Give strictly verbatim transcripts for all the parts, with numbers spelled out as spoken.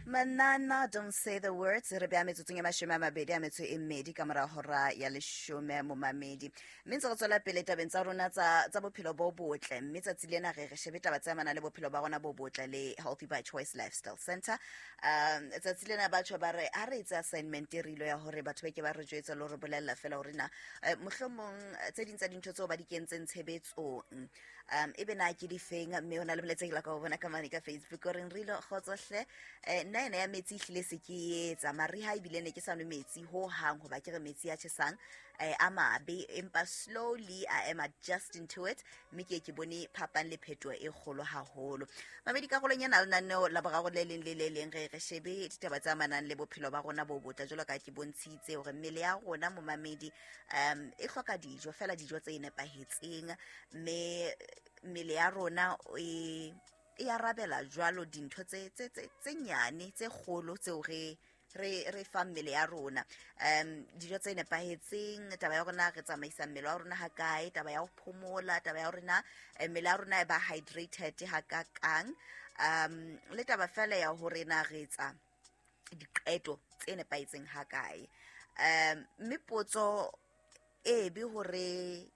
Manana, Don't Say the Words. Re beha metsotsong e mashome a mabedi a metso e mmedi ka mora hora ya leshome, momamedi. Mme ntse re tswela pele tabeng tsa rona tsa tsa bophelo bo botle, mme tsatsi lena re re shebe taba tse amanang le bophelo ba rona bo botle le Healthy by Choice Lifestyle Center. um Tsatsi lena batho ba re ha re etse assignment e re ilo ya hore batho ba ke ba re jwetse le hore bolella fela hore na eh, mohlomong eh, tse ding tsa dintho tseo ba di kentseng tshebetsong um ebe na ke di feng. Mme ho na le molaetsa ke la ka o bona ka mane ka Facebook o reng re ilo kgotsohle. eh, nna ena ya metsi ehlile se ke etsa mariha, ebile ne ke sa nwe metsi ho hang hoba ke re metsi a tjhesang eh, a mabe, empa slowly I am adjusting to it, mme ke ke bone phapang le phetoho e kgolo haholo. Mamedi, karolong ena lenaneo la boraro le leng le le leng re re shebe ditaba tse amanang le bophelo ba rona bo botle, jwalo ka ke bontshitse hore mmele ya rona, momamedi, um e hloka dijo fela, dijo tse nepahetseng, mme mmele ya rona e e arabela jwalo dintho tse tse tse tse nyane, tse kgolo tseo re re re fa mmele ya rona. um dijo tse nepahetseng, taba ya rona re tsamaisa mmele wa rona ha kae, taba ya ho phomola, taba ya rona eh, mmele ya rona e ba hydrated ha kakang, um le taba fela ya hore na re etsa diqeto tse nepahetseng ha kae. um mme potso e be hore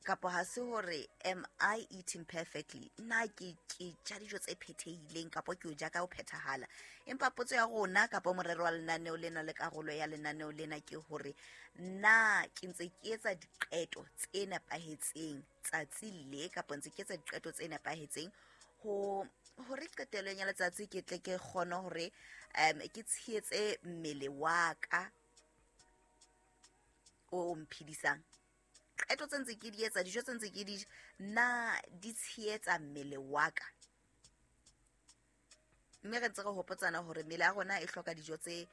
kapa ha se hore am I eating perfectly, nna ke ke ja dijo tse phethehileng kapa ke o ja ka ho phethahala? Empa potso ya rona kapa morero wa lenaneo lena le karolo ya lenaneo lena ke hore na ke ntse ke etsa diqeto tse nepahetseng tsatsi le, kapa ntse ke etsa diqeto tse nepahetseng ho hore qetellong ya letsatsi ke tle ke kgone hore um ke tshehetse mmele wa ka o mphedisang. Qeto tse ntse ke di etsa, dijo tse ntse ke di ja, na di tshehetsa mmele wa ka? Mme re ntse re hopotsana hore mmele ya rona e hloka dijo tse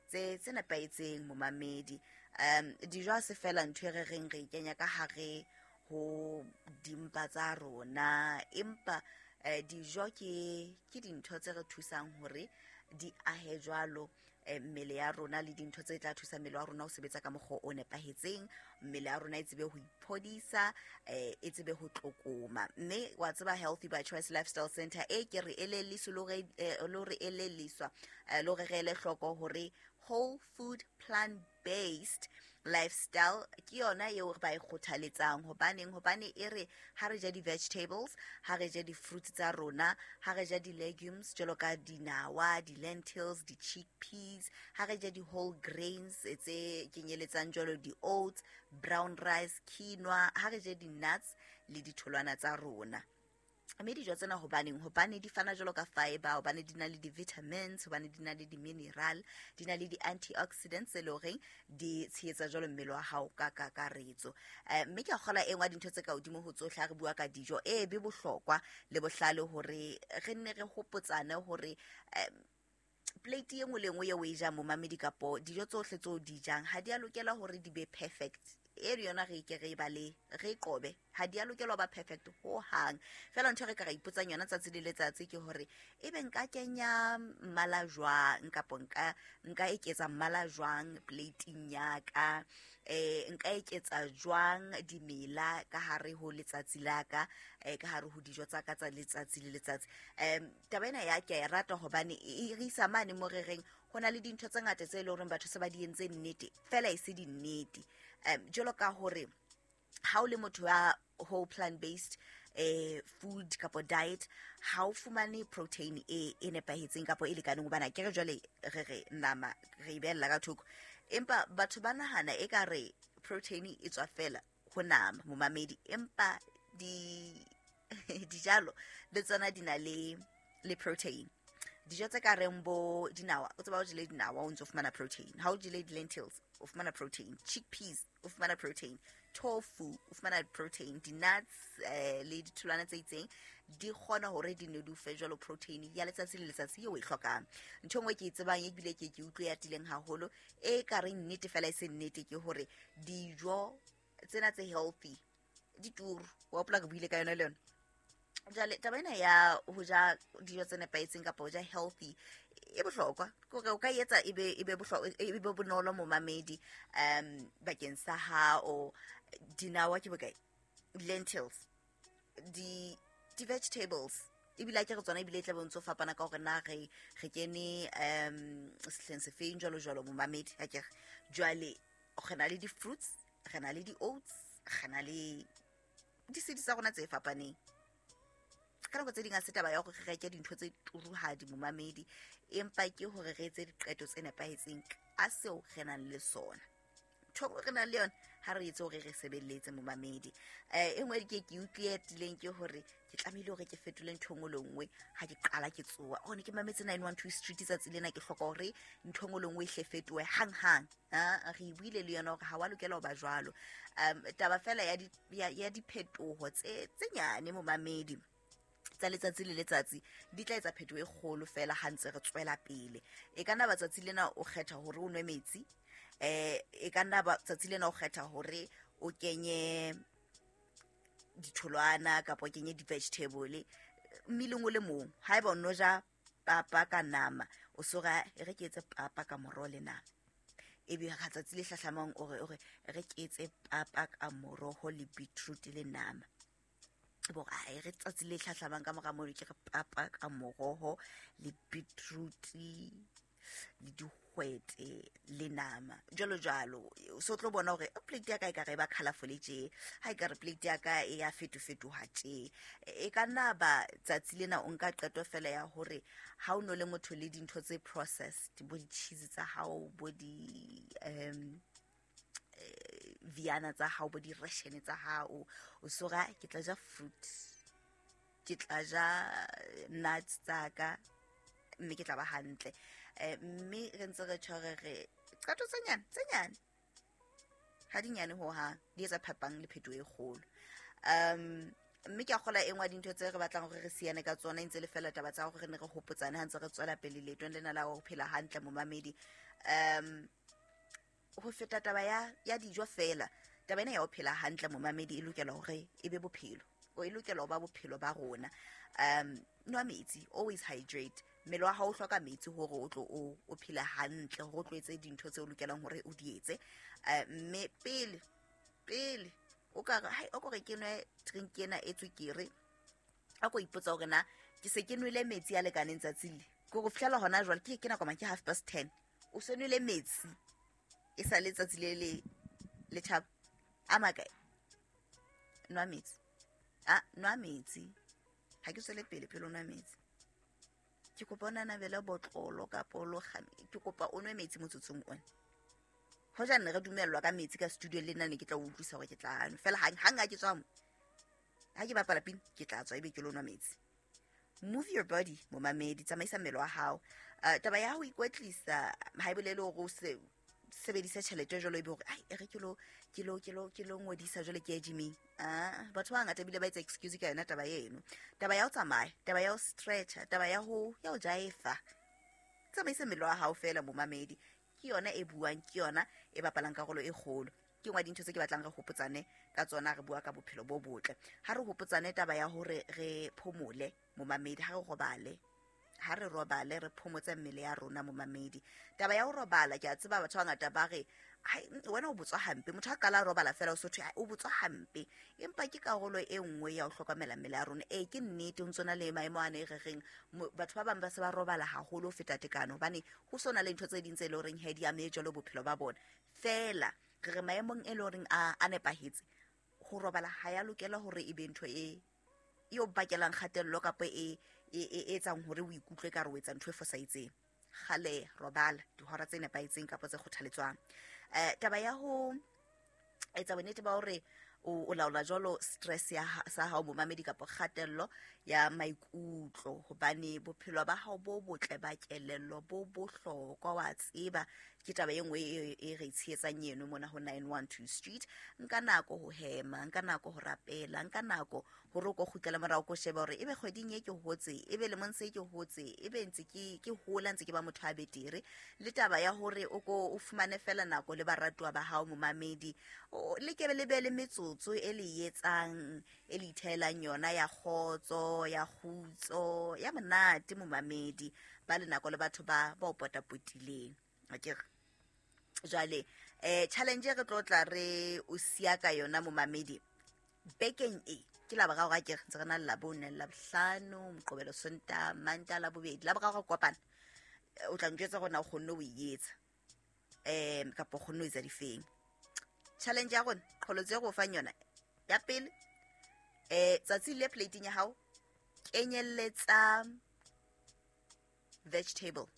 tse tse nepahetseng, momamedi. um dijo ha se fela ntho e re reng re e kenya ka hare ho dimpa tsa rona, empa eh, dijo ke ke dintho tse re thusang hore di ahe jwalo eh, mmele ya rona, le dintho tse tla thusa mmele wa rona ho sebetsa ka mokgwa o nepahetseng, mmele ya rona e tsebe ho iphodisa, eh, e tsebe ho tlokoma. Mme wa tseba, Healthy by Choice Lifestyle Center e ke re elelliswe le hore eh, le hore elelliswa eh, le hore re ele hloko hore whole food plant based lifestyle ke yona eo ba e kgothaletsang. Hobaneng? Hobane e re ha re ja di-vegetables, ha re ja di-fruits tsa rona, ha re ja di-legumes jwalo ka dinawa, di-lentils, di-chickpeas, ha re ja di-whole grains tse kenyeletsang jwalo di-oats, brown rice, quinoa, ha re je di-nuts le ditholwana tsa rona. Mme dijo tsena hobaneng? Hobane di fana jwalo ka fiber, hobane di na le di-vitamins, hobane di na le di-mineral, di na le di-antioxidants tse le horeng di tshehetsa jwalo mmele wa hao ka kakaretso. um mme ke a kgola e nngwe ya dintho tse ka hodimo ho tsohle ha re bua ka dijo e be bohlokwa le bohlale hore re nne re hopotsane hore um plate e nngwe le nngwe eo o e jang, momamedi, kapo dijo tsohle tseo di jang, ha di a lokela hore di be perfect. E le yona re ke re ba le re qobe, ha di a lokela ho ba perfect ho hang. Fela ntho e re ka ra ipotsang yona tsatsi le letsatsi ke hore ebe nka kenya mmala jwang, kapo nka nka eketsa mmala jwang plating ya ka, eh nka eketsa jwang dimela ka hare ho letsatsi la ka, eh ka hare ho dijo tsa ka tsa letsatsi le letsatsi. um taba ena ya ke a e rata hobane e re isa mane mo re reng ho na le dintho tse ngata tse leng hore batho se ba di entse nnete, fela e se dinnete. um jwalo ka hore ha o le motho ya whole plant based eh food kapo diet, ha o fumane protein e e nepahetseng kapo e lekaneng, hobane ke re jwale re re nama re e behella ka thoko, empa batho ba nahana e ka re protein e tswa fela ho nama, momamedi, empa di dijalo le tsona di na le le protein. Dijo tse ka reng bo dinawa, o tseba o jele dinawa o ntso fumana protein, ha o jele di-lentils o fumana protein, chickpeas o fumana protein, tofu o fumana protein, di-nuts eh, le ditholwana tse itseng di kgona hore di ne di o fe jwalo protein ya letsatsi le letsatsi eo o e hlokang. Ntho e nngwe ke e tsebang ebile ke ke utlwe ya tileng haholo e ka reng nnete fela e se nnete ke hore dijo tsena tse healthy di turu. Wa hopola re buile ka yona le yona. Jwale taba ena ya ho ja dijo tse nepahetseng kapa ho ja healthy e bohlokwa ke hore o ka etsa e be e be bohlokwa, e be bonolo, momamedi, um bakeng sa hao. Dinawa ke bokae, lentils, di di-vegetables Ebile a ke re tsona ebile e tla be ntso fapana ka hore na re re kene um sehleng sefeng jwalo jwalo momamedi a ke re. Jwale re na le di-fruits, re na le di-oats, re na le di-seeds tsa rona tse fapaneng. Ka nako tse ding ha se taba ya hore re reke dintho tse turuhadi momamedi, empa ke hore re etse diqeto tse nepahetseng ka seo re nang le sona. Ntho e re nang le yona ha re etse hore re sebeletse momamedi. Eh e nngwe ke ke utlwe tileng ke hore ke tlamehile hore ke fetole ntho e nngwe le nngwe ha ke qala ke tsoha. Oh ne ke mametse nine one two Street tsatsi lena, ke hloka hore ntho e nngwe le nngwe e hle fetohe hang hang. Ha re buile le yona hore ha wa lokela ho ba jwalo. Um taba fela ya di ya, ya diphetoho tse tse nyane momamedi tsa letsatsi le letsatsi di tla etsa phetoho e kgolo fela ha ntse re tswela pele. E ka nna ba tsatsi lena o kgetha hore o nwe metsi, eh e ka nna ba tsatsi lena o kgetha hore o kenye ditholwana kapa o kenye di-vegetable mmeleng o le mong. Haeba o no ja papa ka nama, o so re e re ke etse papa ka moroho le nama. Ebe ha tsatsi le hlahlamang o re o re re ke etse papa ka moroho le beetroot le nama. Bo ai re tsatsi le hlahlamang ka mora mono ke re papa ka moroho le beetroot le dihwete le nama jwalo jwalo. So tlo bona hore plate ya ka e ka re ba colourful tje, ha e ka re plate ya ka e ya fetofetoha tje. E ka nna ba tsatsi lena o nka qeto fela ya hore ha o no le motho le dintho tse processed, bo di-cheese tsa hao, bo di um viana tsa hao, bo di-ration tsa hao, o so re ke tla ja fruit, ke tla ja nuts tsa ka, mme ke tla ba hantle. Eh mme re ntse re tjho re re qeto tse nyane tse nyane ha di nyane ho hang, di etsa phapang le phetoho e kgolo. Um mme ke a kgola e nngwe ya dintho tse re batlang hore re siane ka tsona e ntse le fela taba tsa hore re ne re hopotsane ha ntse re tswela pele leetong lena la ho phela hantle momamedi. Um ho feta taba ya ya dijo fela, taba ena ya ho phela hantle momamedi e lokela hore e be bophelo, o e lokela ho ba bophelo ba rona. Um nwa metsi, always hydrate. Mmele wa hao o hloka metsi hore o tlo o o phele hantle, hore o tlo etse dintho tseo o lokelang hore o di etse. Eh mme pele pele o ka re hai o kore ke nwe drink ena e tswekere, a ko ipotsa hore na ke se ke nwele metsi a lekaneng tsatsing le. Ke go fihlela hona jwale ke ke nako mang, ke half past ten, o se nwele metsi e sa le tsatsi le le le tjhaba a makae. Nwa metsi, a nwa metsi, ha ke tswele pele pele o nwa metsi. Ke kopa o nanabele botlolo kapa o lo kgame, ke kopa o nwe metsi motsotsong ona. Hoja ne re dumellwa ka metsi ka studio le nna ne ke tla o utlwisa hore ke tla nwa. Fela hang hang ha ke tswa mo, ha ke bapala pina ke tla tswa ebe ke lo nwa metsi. Move your body momamedi, tsamaisa mmele wa hao. Uh, taba ya ho ikwetlisa ha e bolele hore o se sebedisa tjhelete jwalo ebe hore ai e re ke lo ke lo ke lo ke lo ngodisa jwale ke ye gyming. Ah batho ba bangata ebile ba etsa excuse ka yona taba eno. Taba ya ho tsamaya, taba ya ho stretcha, taba ya ho ya ho jaefa. Tsamaisa mmele wa hao fela momamedi. Ke yona e buang, ke yona e bapalang karolo e kgolo. Ke nngwe ya dintho tse ke batlang re hopotsane ka tsona, re bua ka bophelo bo botle. Ha re hopotsane taba ya hore re phomole momamedi, ha re robale, ha re robale re phomotse mmele ya rona momamedi. Taba ya ho robala ke a tseba batho ba bangata ba re hai wena o botswa hampe, motho ha qala a robala fela o so thwe o botswa hampe, empa ke karolo e nngwe ya ho hlokomela mmele ya rona. E ke nnete ho ntso na le maemo ana e re reng batho ba bang ba se ba robala haholo ho feta tekano, hobane ho so na le ntho tse ding tse leng horeng he di ame jwalo bophelo ba bona. Fela re re maemong e leng horeng a a nepahetse, ho robala ha ya lokela hore e be ntho e e o bakelang kgatello kapa e e e etsang hore o ikutlwe ka re o etsa ntho e fosahetseng. Kgale robala dihora tse nepahetseng kapa tse kgothaletswang. Eh taba ya ho etsa bonnete ba hore o o laola jwalo stress ya sa hao momamedi kapa kgatello ya maikutlo, hobane bophelo ba hao bo botle ba kelello bo bohlokwa wa tseba. Ke taba e nngwe e e re tshehetsang eno mona ho nine one two Street. Nka nako ho hema, nka nako ho rapela, nka nako hore o ko kgutlele morao ko sheba hore ebe kgweding e ke hotse, ebe lemong se ke hotse, ebe ntse ke ke hola ntse ke ba motho a betere. Le taba ya hore o ko o fumane fela nako le baratuwa ba hao momamedi, le ke le be le metsotso e le etsang e le ithelang yona ya kgotso, ya kgutso, ya monate momamedi, ba le nako le batho ba ba o potapotileng. Akere jwale eh challenge re tlo tla re o siya ka yona momamedi bekeng e Ke la boraro a ke re ntse re na le Labone, Labohlano, Moqebelo, Sontaha, Mantaha, Labobedi. La boraro re kopana. O tla njwetsa hore na o kgonne ho e etsa. Um kapa o kgonne ho etsa difeng. Challenge ya rona, qholotso e re o fang yona. Ya pele, eh tsatsi le plate-ing ya hao kenyelletsa vegetable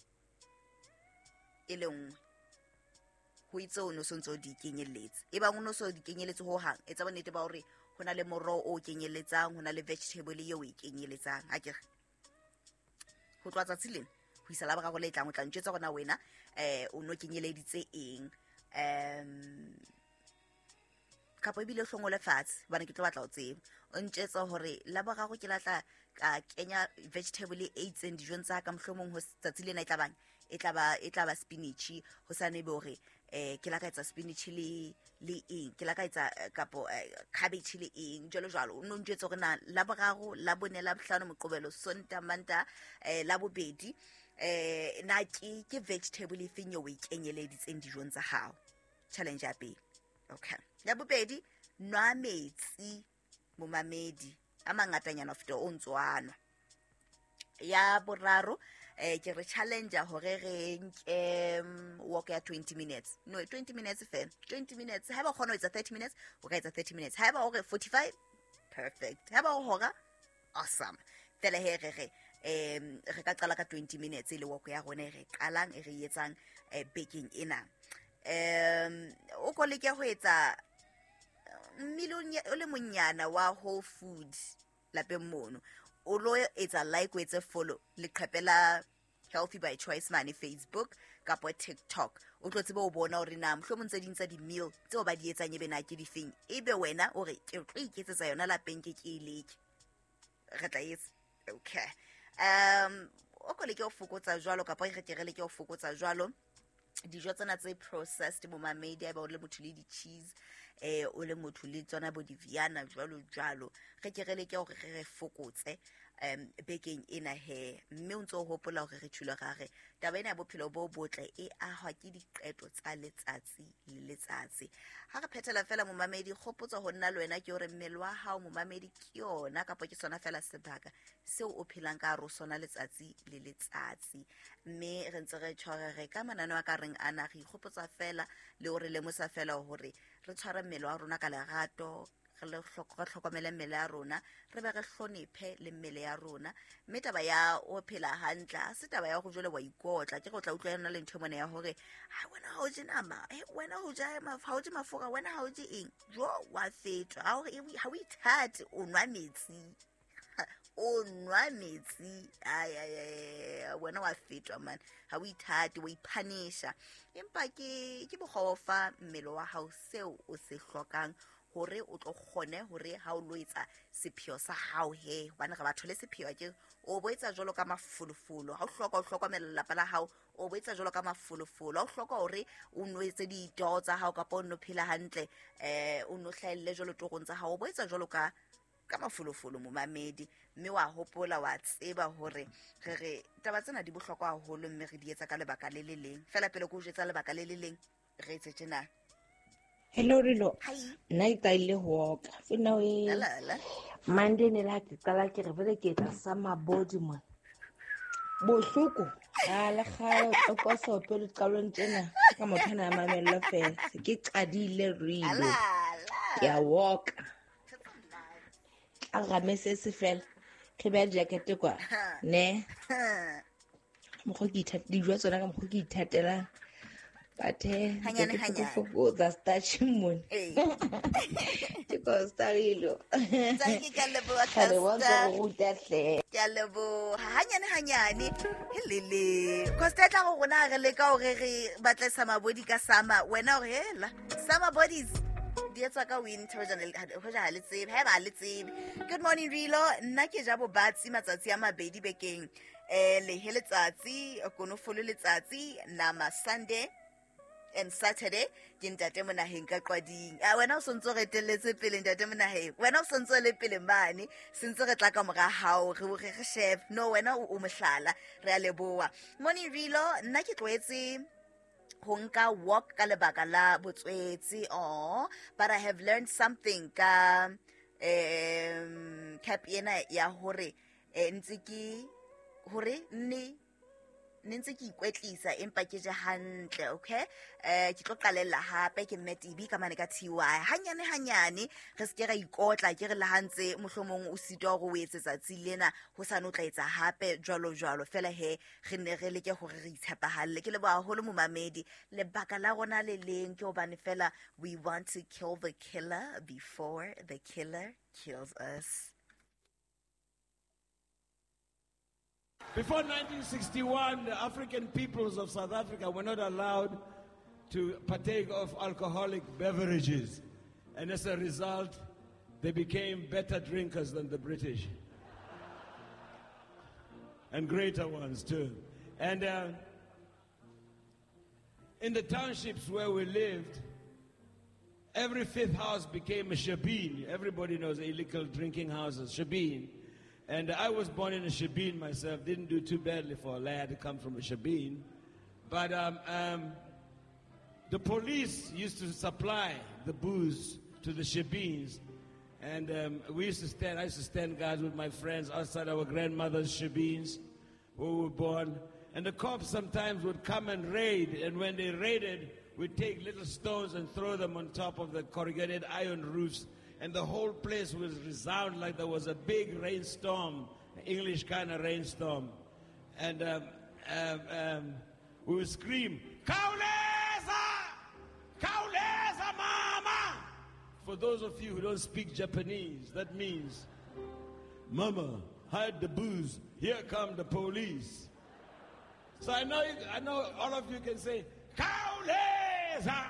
e le nngwe. Ho itse o no sontso di kenyelletse. E bang o no so di kenyelletse ho hang, etsa bonnete ba hore ho na le moroho o kenyelletsang, ho na le vegetable eo o e kenyelletsang. Akere ho tloha tsatsi lena ho isa la boraro le tlang, o tla ntjwetsa hore na wena eh o no kenyeleditse eng. Um kapa ebile o hlongole fatshe hobane ke tlo batla ho tseba. O ntjwetsa hore la boraro ke latla ka kenya vegetable e itseng dijong tsa ka, mohlomong ho tsatsi lena e tla bang e tla ba e tla ba spinach, ho sa ne be hore eh ke la ka etsa spinach le le eng, ke la ka etsa kapo cabbage le eng, jwalo jwalo. O no ntjwetsa hore na la boraro, la bone, la bohlano, Moqebelo, Sontaha, Mantaha, eh la bobedi, eh na ke ke vegetable e feng eo o e kenyeleditseng dijong tsa hao. Challenge ya pele. Okay. Ya bobedi, nwa metsi momamedi a mangatanyana ho feta o ntso a nwa. Ya boraro, eh ke re challenge hore re nke walk ya twenty minutes. No, twenty minutes fela. twenty minutes. Haeba o kgona ho etsa thirty minutes, o ka etsa thirty minutes. Haeba o re forty-five, perfect. Haeba o hora, awesome. Fela he re re em re ka qala ka twenty minutes e le walk ya rona e re qalang e re etsang bekeng ena. Um o ko leke ho etsa mmele o le monyana wa Whole Food lapeng mono. O lo etsa like, o etse follow leqhepe la Healthy by Choice mane Facebook kapa TikTok. O tlo tsebe ho bona hore na mohlomong tse ding tsa di-meal tseo ba di etsang ebe na ke difeng. Ebe wena o re ke tlo iketsetsa yona lapeng, ke ke e leke. Re tla etsa. Okay. Um o ko leke ho fokotsa jwalo kapa re ke re leke ho fokotsa jwalo dijo tsena tse processed momamedi, haeba o le motho le di-cheese, eh o le motho le tsona bo di-viana jwalo jwalo. Re ke re leke hore re re fokotse um bekeng ena he. Mme o ntso o hopola hore re tjholo ra re taba ena ya bophelo bo botle e ahwa ke diqeto tsa letsatsi le letsatsi. Ha re phethela fela momamedi, kgopotso ho nna le wena ke hore mmele wa hao momamedi ke yona kapa ke sona fela sebaka seo o phelang ka hare ho sona letsatsi le letsatsi. Mme re ntse re tshware re ka mananeo a ka reng ana, re ikgopotsa fela le hore lemosa fela hore re tshware mmele wa rona ka lerato, re le re hlokomele mmele ya rona, re be re hlonephe le mmele ya rona. Mme taba ya o phela hantle ha se taba ya hore jwale wa ikotla. Ke re o tla utlwa yona le ntho mona ya hore ha wena ha o je nama, eh wena ho ja ha o je mafura, wena ha o je eng, jo wa fetwa. Ha o ha o ithate, o nwa metsi, o nwa metsi, ay ay ay, wena wa fetwa man, ha o ithate, o iphanisha. Empa ke ke mokgwa fa mmele wa hao seo o se hlokang hore o tlo kgone hore ha o lo etsa sepheo sa hao he, hobane re batho le sepheo ke o bo etsa jwalo ka mafolofolo. Ha o hloka o hlokomela lelapa la hao, o bo etsa jwalo ka mafolofolo. Ha o hloka hore o no etse ditoro tsa hao kapa o no phela hantle, eh o no hlahelle jwalo torong tsa hao, o bo etsa jwalo ka ka mafolofolo momamedi. Mme wa hopola wa tseba hore re re taba tsena di bohlokwa haholo, mme re di etsa ka lebaka le le leng fela. Pele ke o jwetsa lebaka le le leng, re etse tjena. Hello Rilo. Nna ke qadile ho walk. Fina we. Monday ne la ke qala ke re bele ke etsa summer body mo. Bohloko. A le kgale o koso pele qalong tsena ka motho ana a mamella fela. Se ke qadile Rilo. Ke a walk. A ramese se fela. Ke beha jacket kwa. Ne. Mokgwa ke ithatela dijo tsona ka mokgwa ke ithatelang. But eh, Hanyane, hanyane. Fokotsa starch mone. Ee. Ke Costa Rilo. Thank you, ke a leboha, Ka leboha Costa. ho ruta hle. Ke a leboha. Hanyane, hanyane. Helele. Costa e tla go rona re leka hore re batle summer body ka summer. Wena o re hela. Summer bodies di etswa ka winter, hoja le, hoja ha le tsebe, haeba ha le tsebe. Good morning Rilo, nna ke ja bobatsi matsatsi a mabedi bekeng. Eh lehe letsatsi, konofolo letsatsi, nama Sunday and Saturday ke ntate Monaheng ka Qwading. Ah, wena o sontso re etelletse pele ntate Monaheng. Wena o sontso le pele mane, sentse re tla ka mora hao, re re re chef. No, wena o mohlala, re a leboha. Morning Rilo, nna ke tlwaetse ho nka walk ka lebaka la botswetse. Oh, but I have learned something ka um cap ena ya hore ntse ke hore nne ne ntse ke ikwetlisa empa ke je hantle, okay? Eh ke tlo qalella hape ke mme T B ka mane ka T Y hanyane hanyane re se ke ra ikotla ke re le hantse mohlomong o sitwa hore o etse tsatsi lena ho sa no tla etsa hape jwalo jwalo fela he re ne re leke hore re itshepahalle. Ke leboha haholo momamedi, lebaka la rona le leng ke hobane fela we want to kill the killer before the killer kills us. Before nineteen sixty-one, the African peoples of South Africa were not allowed to partake of alcoholic beverages. And as a result, they became better drinkers than the British. And greater ones, too. And uh, in the townships where we lived, every fifth house became a shebeen. Everybody knows illegal drinking houses, shebeen. And I was born in a shebeen myself. Didn't do too badly for a lad to come from a shebeen. But um, um, the police used to supply the booze to the shebeens. And um, we used to stand, I used to stand guards with my friends outside our grandmother's shebeens where we were born. And the cops sometimes would come and raid. And when they raided, we'd take little stones and throw them on top of the corrugated iron roofs. And the whole place was resound like there was a big rainstorm, English kind of rainstorm. And um, um, um, we would scream, Kauleza! Kauleza, mama! For those of you who don't speak Japanese, that means, Mama, hide the booze, here come the police. So I know, you, I know all of you can say, Kauleza!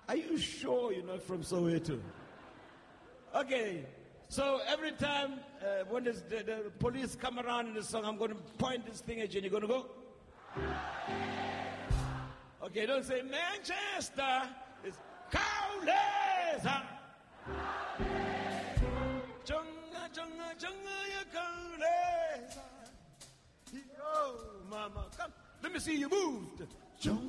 Are you sure you're not from Soweto? Okay, so every time uh, when this, the, the police come around in the song, I'm going to point this thing at you and you're going to go. Okay, don't say Manchester. It's Kauleza. Chunga, chunga, chunga, ya Kauleza. Oh, mama, come. Let me see you moved. Chunga.